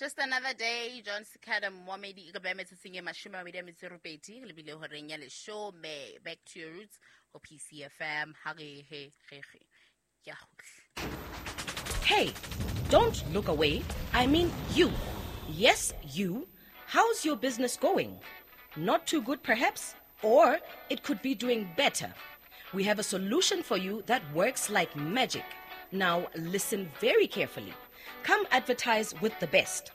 Just another day, John Sikada Mwamedi e ka beha metsotsong e 28 re lebile horeng ya leshome. Back to your roots ho PCFM. Ha re he re re. Ke a kgutla. Hey, don't look away. I mean you. Yes, you. How's your business going? Not too good, perhaps? Or it could be doing better. We have a solution for you that works like magic. Now, listen very carefully. Come advertise with the best.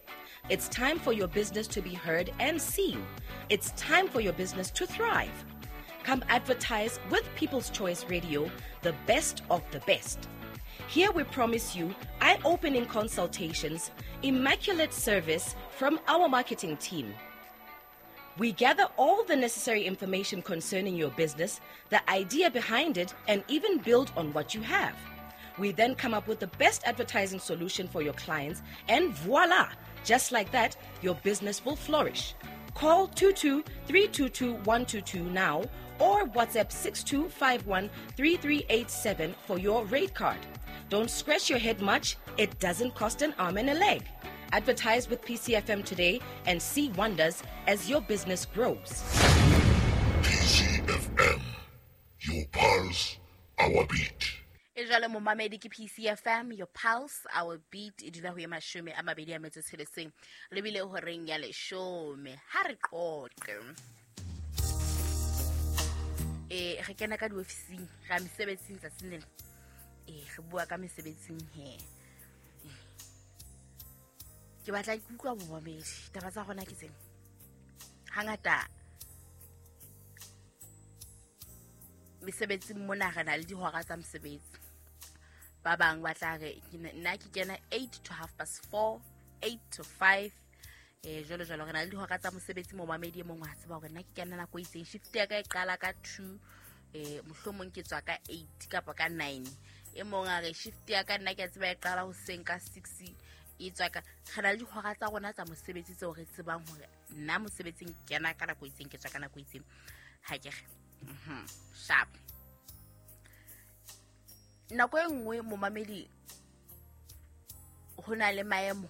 It's time for your business to be heard and seen. It's time for your business to thrive. Come advertise with People's Choice Radio, the best of the best. Here we promise you eye opening consultations, immaculate service from our marketing team. We gather all the necessary information concerning your business, the idea behind it, and even build on what you have. We then come up with the best advertising solution for your clients, and voila! Just like that, your business will flourish. Call 22 322 122 now or WhatsApp 6251 3387 for your rate card. Don't scratch your head much, it doesn't cost an arm and a leg. Advertise with PCFM today and see wonders as your business grows. PCFM, your pulse, our beat. E jwale momamedi ke PCFM, your pulse, our beat. E dula ho ye 26 lebile horeng ya leshome. Ha re qoqe, re kena ka diofising, ra mesebetsing tsatsing lena. Re bua ka mesebetsing he. Ke batla ke utlwa momamedi, taba tsa rona ke tsena. Hangata mesebetsing mona re na le dihora tsa mosebetsi. Ba bang ba tla re nna ke kena 8 to half past 4, 8 to 5. Jwalo jwalo re na le dihora tsa mosebetsi. Momamedi e mong wa tseba hore nna ke kena nako e itseng, shift ya ka e qala ka 2, mohlomong ke tswa ka 8 kapa ka 9. E mong a re shift ya ka nna ke a tseba e qala hoseng ka 6, e tswa ka. Re na le dihora tsa rona tsa mosebetsi tseo re tsebang hore nna mosebetsing ke kena ka nako e itseng, ke tswa ka nako e itseng. Ha ke re sharp. Nako e nngwe momamedi ho na le maemo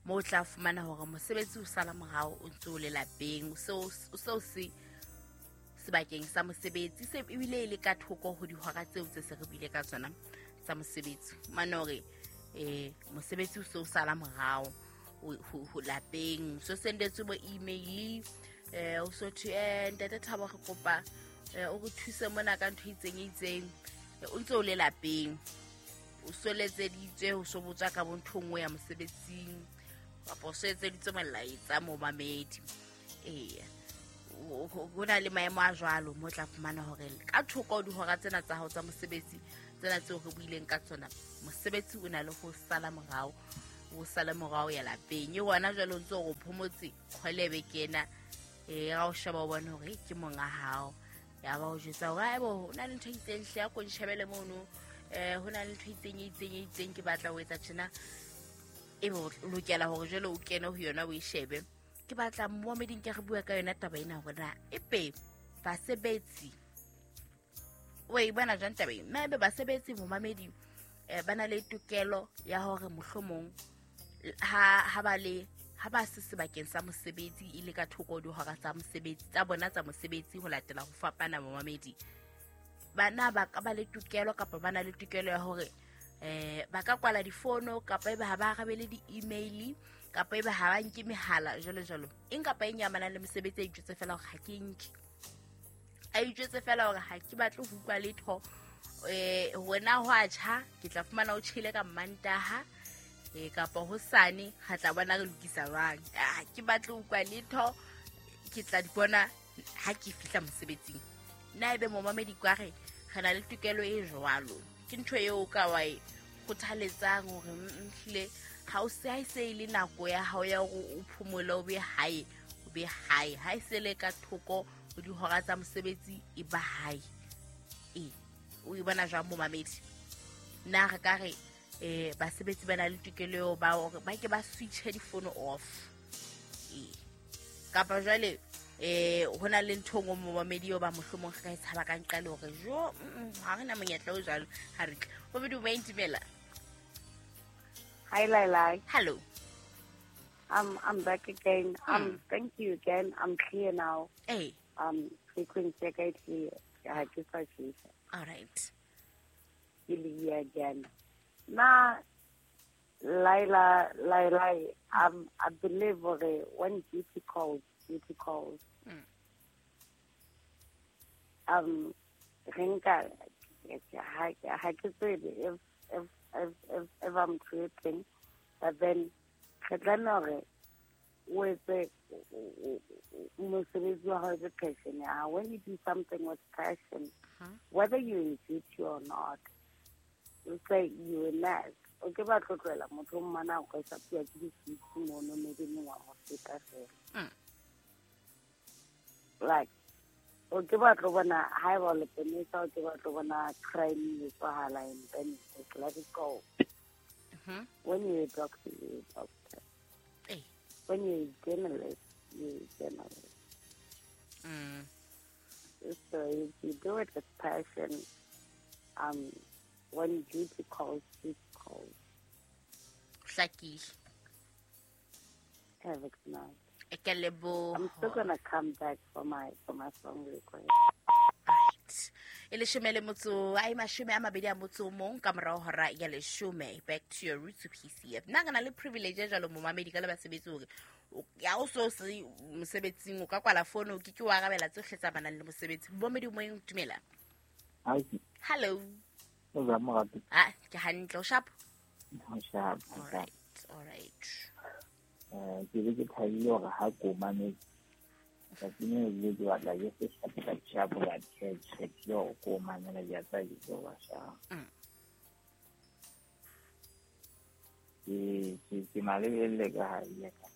mo o tla fumana hore mosebetsi o sala morao, o ntse o le lapeng, o se se sebakeng sa mosebetsi, se ebile e le ka thoko ho dihora tseo tse se re buile ka tsona tsa mosebetsi. Mane hore mosebetsi o se o sala morao ho lapeng, so sendetswe bo email, o so thwe ntate Thabo re kopa o re thuse mona ka ntho e itseng e itseng, o ntse o le lapeng, o so letseditswe ho so botswa ka bo ntho nngwe ya mosebetsing, kapa o so etseditswe molaetsa momamedi. Ho na le maemo a jwalo mo tla fumana hore ka thoko dihora tsena tsa hao tsa mosebetsi tsena tseo re buileng ka tsona, mosebetsi o na le ho sala morao, o sala morao ya lapeng. E wona jwale o ntse o phomotse kgwelebe kena, ra o sheba o bone hore ke monga hao, ya ba o jwetsa hore haebo ho na le ntho e itseng hle ya ko nshebele mono, ho na le ntho e itseng e itseng e itseng ke batla ho etsa tjena, ebe o lokela hore jwale o kene ho yona o e shebe. Ke batla momameding ke re bua ka yona taba ena hore na ebe basebetsi o e bona jwang taba ena? Na ebe basebetsi momamedi ba na le tokelo ya hore mohlomong ha ba le ha ba se sebakeng sa mosebetsi e le ka thoko dihora tsa mosebetsi tsa bona tsa mosebetsi ho latela ho fapana momamedi, bana ba ka ba le tokelo kapa ba na le tokelo ya hore ba ka kwala difono kapa ebe ha ba arabele di-email kapa ebe ha ba nke mehala jwalo jwalo. Eng kapa eng ya amanang le mosebetsi a itjwetse fela hore ha ke nke, a itjwetse fela hore ha ke batle ho utlwa letho. Hore na ho a tjha, ke tla fumana o tjhele ka Mmantaha, kapa hosane re tla bona re lokisa jwang. Ha ke batle ho utlwa letho, ke tla di bona ha ke fihla mosebetsing. Na ebe momamedi kwa re re na le tokelo e jwalo? Ke ntho eo o ka wa e kgothaletsang hore hlile ha o se ha e se e le nako ya hao ya hore o phomole o be hae, o be hae. Ha e se le ka thoko ho dihora tsa mosebetsi e ba hae. O e bona jwang momamedi? Na re ka re basebetsi ba na le tokelo eo ba hore ba ke ba switche difono off? Kapa jwale ho na le ntho e nngwe momamedi eo ba mohlomong re ka e tshaba ka nqale hore jo ha re na monyetla o jwalo, ha re tle. Momamedi o ba intimela. Hi, Laila. Hello. I'm back again. Thank you again. I'm clear now. Hey. Frequency ya ka e clear. Ha ke sa tjhesa. All right. Ke le here again. Na Laila, I believe when duty calls, duty calls. Renka, I can say if I'm tripping, but then with the passion. When you do something with passion, whether you're in duty or not, you say you're a nurse. Okay, but motho mmana o ka sa ke di mono maybe mo wa mo feta fela. Like o ke batlo bona ha e ba le penesa o ke batlo bona crime e tswahala and then just let it go. When you're a doctor, you're a doctor. Hey. When you're a journalist, you're a journalist. So if you do it with passion, when duty calls, duty calls. Hlakile. Have a good night. I'm still gonna come back for my song request. Right. E leshome le motso ai mashome a mabedi a motso mong ka morao hora ya leshome. Back to your roots PCF. Nna ke na le privilege ya jalo momamedi ka le basebetsi hore ya o so se mosebetsing o ka kwala phone o ke ke wa arabela tsohle tsa banang le mosebetsi. Momamedi moyeng dumela. Hi. Hello. Ah, ke hantle o sharp. O sharp. All right. All right. Ke be ke thabile hore ha ko mametse tsatsing leo ke ke batla ke se shape ka tjhapo ka tjhe ke hore ko mamela ke a tseba ke tlo ba sharp. Ke malebelle ka ha ya ka.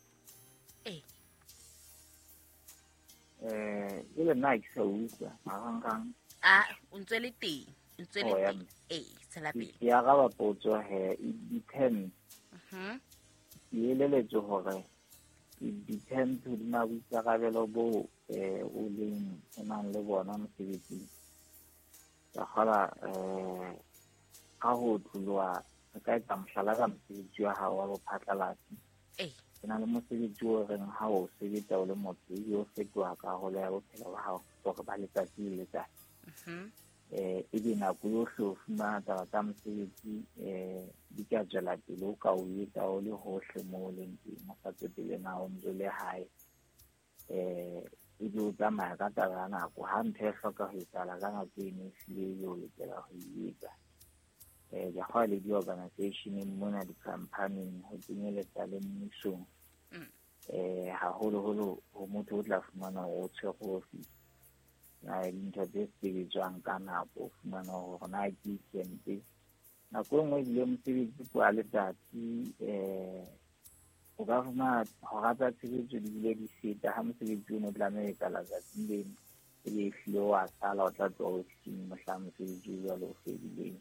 E le nna ke sa utlwa marangrang. Ah, o ntse le teng. O ntse le teng. Tswela pele. Ke araba potso he, it depends. Ke eleletswe hore it depends hodima boikarabelo bo o leng o nang le bona mosebetsing. Ka kgola ka ho tloloha re ka etsa mohlala ka mosebetsi wa hao wa bophatlalatsi. Ke na le mosebetsi o reng ha o sebetsa o le motho ebe o fetoha karolo ya bophelo ba hao hore ba letsatsi le letsatsi. Ebe nako yohle o fumana taba tsa mosebetsi di ka tswela pele o ka o etsa o le hohle moo o leng teng, o sa tsotelle na o ntse o le hae. Ebe o tsamaya ka taba ya nako, ha ntho e hloka ho etsahala ka nako eno ehlile ebe o lokela ho e etsa. Ke kgolwa le di-organizationeng mona di-company-ing ho kenyeletsa le mmusong. Haholoholo ho motho o tla fumana hore o tshwere office. Na dintho tse sebetswang ka nako, o fumana hore na ke weekend. Nako e nngwe ebile mosebetsi ke wa letsatsi, o ka fumana hora tsa tshebetso di bile di feta ha mosebetsi ono tlameha ho etsahala tsatsing leno, ebe ehlile wa sala o tla tloha ofising mohlang mosebetsi o jwalo o fedileng.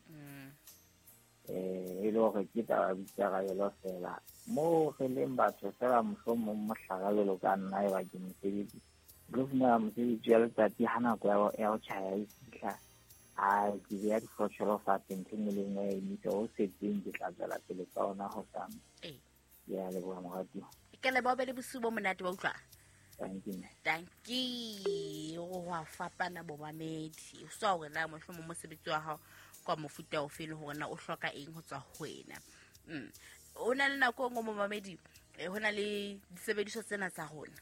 E le hore ke taba ya boikarabelo fela. Moo re leng batho fela mohlomong mohlala jwalo ka nna eba ke mosebetsi, re fumana mosebetsi wa letsatsi ha nako ya ho tjhaya e fihla, a ke beha difotjhelo fatshe, ntho e nngwe le nngwe ya emisa, o setseng ke tla tswela pele ka ona hosane. Ke a leboha moratuwa. Ke leboha be le bosiu bo monate wa utlwa. Thank you. Thank you. Ho fapana bomamedi. O sa hore na mohlomong mosebetsi wa hao kwa mofuta ofe le hore na o hloka eng ho tswa ho wena. O na le nako e nngwe momamedi, ho na le disebediswa tsena tsa rona.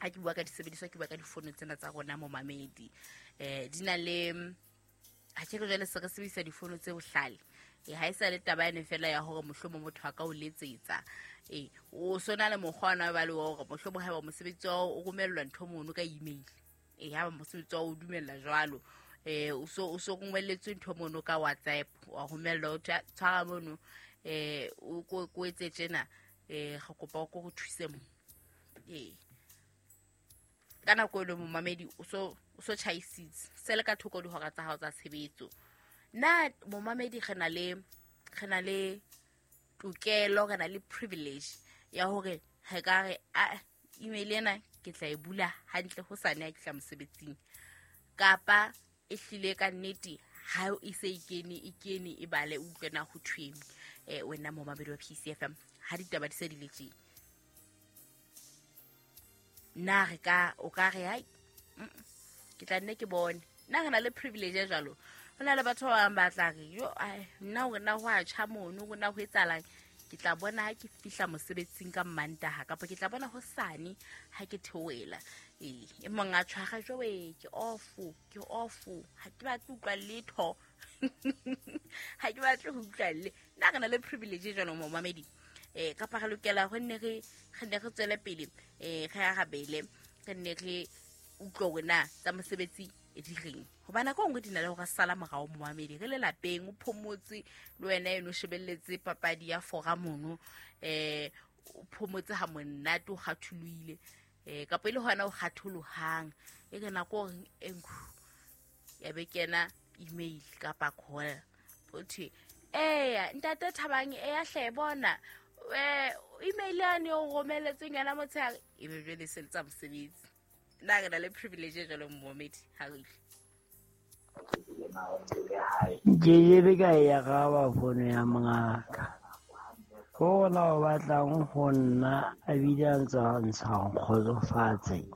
Ha ke bua ka disebediswa ke bua ka difono tsena tsa rona momamedi. Di na le ha ke re jwale se re sebedisa difono tse bohlale. Ha e sa le taba ene fela ya hore mohlomong motho a ka o letsetsa. O sona le mokgwa ona ba le wa hore mohlomong haeba mosebetsi wa o romellwa ntho mono ka email. Ha mosebetsi wa o dumella jwalo, o so romelletswe ntho mono ka WhatsApp, wa romellwa o tshwara mono, o ko etse tjena, re kopa o ko re thuse mo. Ka nako eno momamedi o so tjhaisitse se le ka thoko dihora tsa hao tsa tshebetso. Na momamedi re na le tokelo, re na le privilege ya hore re ka re a email ena ke tla e bula hantle hosane ha ke tla mosebetsing, kapa e hlile ka nnete ha e se e kene e bale o utlwe na ho thweng. Wena momamedi wa PCFM ha ditaba di se di le tjena. Na re ka o ka re hai, ke tla nne ke bone. Nna re na le privilege e jwalo. Ho na le batho ba bang ba tla re, yo, ai, nna hore na ho a tjha mono, hore na ho etsahalang, ke tla bona ha ke fihla mosebetsing ka Mantaha, kapa ke tla bona hosane ha ke theohela. Ee, e mong a tshwara jwe, ke off, ke off, ha ke batle ho utlwa letho. Ha ke batle ho utlwa le. Nna re na le privilege e jwalo momamedi. Kapa re lokela ho nne re nne re tswele pele, re arabele, re nne re utlwe hore na tsa mosebetsi di reng. Hoba nako e nngwe di na le hore sala morao momamedi, re le lapeng, o phomotse le wena eno o shebelletse papadi ya fora mono, o phomotse ha monate, o kgatholohile, kapa e le hona o kgatholohang, e re nako o reng, e nkhu, ya be kena email kapa call, ho thwe, eya, ntate Thabang, eya hle bona, email yane o romelletseng yona motshehare, e be jwale se le tsa mosebetsi. Nna re na le privilege e jwalo momamedi, ha re utlwe. Ke ke ka e araba fono ya mongaka. Ho ona o batlang ho nna a bile a ntse a ntsha nkgotsofatse.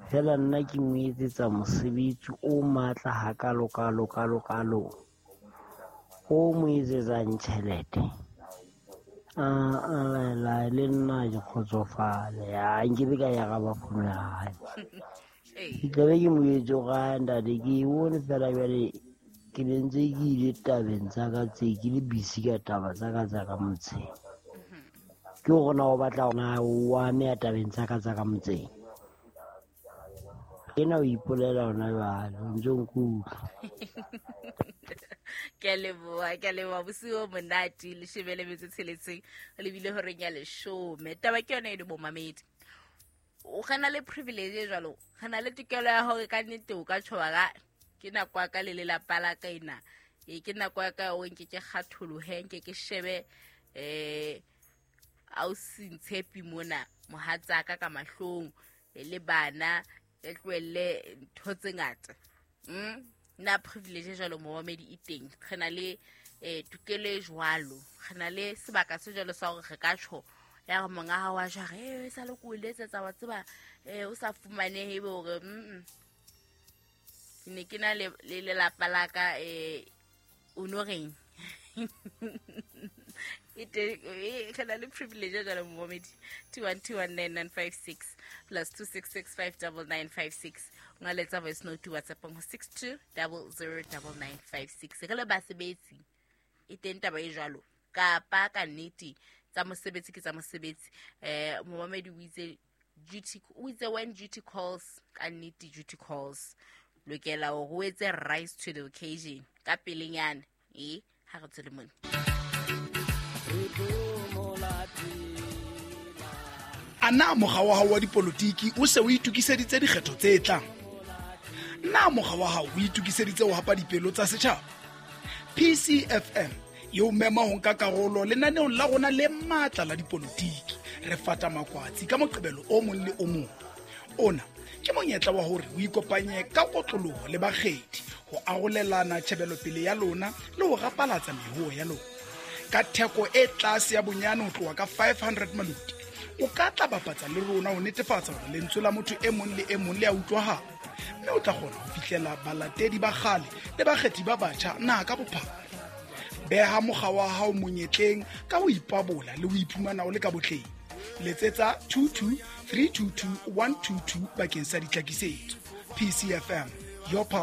Feela nna ke mo etsetsa mosebetsi o matla hakalo kalo kalo kalo. O mo etsetsang tjhelete. A la le nna ke kgotsofale. Ha nkebe ka e araba fono ya hae. Ke tlabe ke mo etse hore, ah, ntate, ke e bone feela jwale ke ne ntse ke ile tabeng tsa ka tse, ke le busy ka taba tsa ka tsa ka motseng. Ke hore na o batla hore na o ameha tabeng tsa ka tsa ka motseng. Ena o ipolela hona jwale, o ntso nkutlwa. Ke a leboha, ke a leboha. Bosiu bo monate, leshome le metso e tsheletseng, o lebile horeng ya leshome. Taba ke yona eno bomamedi. O re na le privilege e jwalo, re na le tokelo ya hore ka nnete o ka tjhoba ka, ke nako ya ka le lelapa la ka ena. Ke nako ya ka ya hore nke ke kgatholohe, nke ke shebe, ausi Ntshepi mona, mohatsaka ka mahlong, le bana, re tlohelle ntho tse ngata. Na privilege jwalo momamedi e teng. Re na le, tokelo e jwalo. Re na le sebaka se jwalo sa hore re ka tjho, ya re monga hao wa jware, e sa le ko o letsetsa, wa tseba, o sa fumanehe, ebe hore, Ke ne ke na le lelapa la ka, o no reng? E teng, re na le privilege ya jwalo momamedi. 21219956 plus 26659956. O nga letsa voice note WhatsApp ho 62009956. Re le basebetsi, e teng taba e jwalo. Kapa ka nnete tsa mosebetsi ke tsa mosebetsi. Momamedi o itse duty, o itse when duty calls, ka nnete duty calls. Lokela hore o etse rise to the occasion ka pelenyana. Ha re tswele mona. A na mokga wa hao wa dipolotiki o se o itokiseditse dikgetho tse tlang? Na mokga wa hao o itokiseditse ho hapa dipelo tsa setjhaba? PCFM e o mema ho nka karolo lenaneong la rona le matla la dipolotiki. Re fata makwatsi ka Moqebelo o mong le o mong. Ona ke monyetla wa hore o ikopanye ka kotloloho le bakgethi ho arolelana tjhebelopele ya lona le ho rapalatsa mehoo ya lona. Ka theko e tlase ya bonyane ho tloha ka 500 maloti, o ka tla bapatsa le rona ho netefatsa hore lentswe la motho e mong le e mong le a utlwahala, mme o tla kgona ho fihlela balatedi ba kgale le bakgethi ba batjha naha ka bophara. Beha mokga wa hao monyetleng ka ho ipabola le ho iphumana o le ka botleng. Letsetsa 22 322 122 bakeng sa ditlhakisetso. PCFM, your pulse.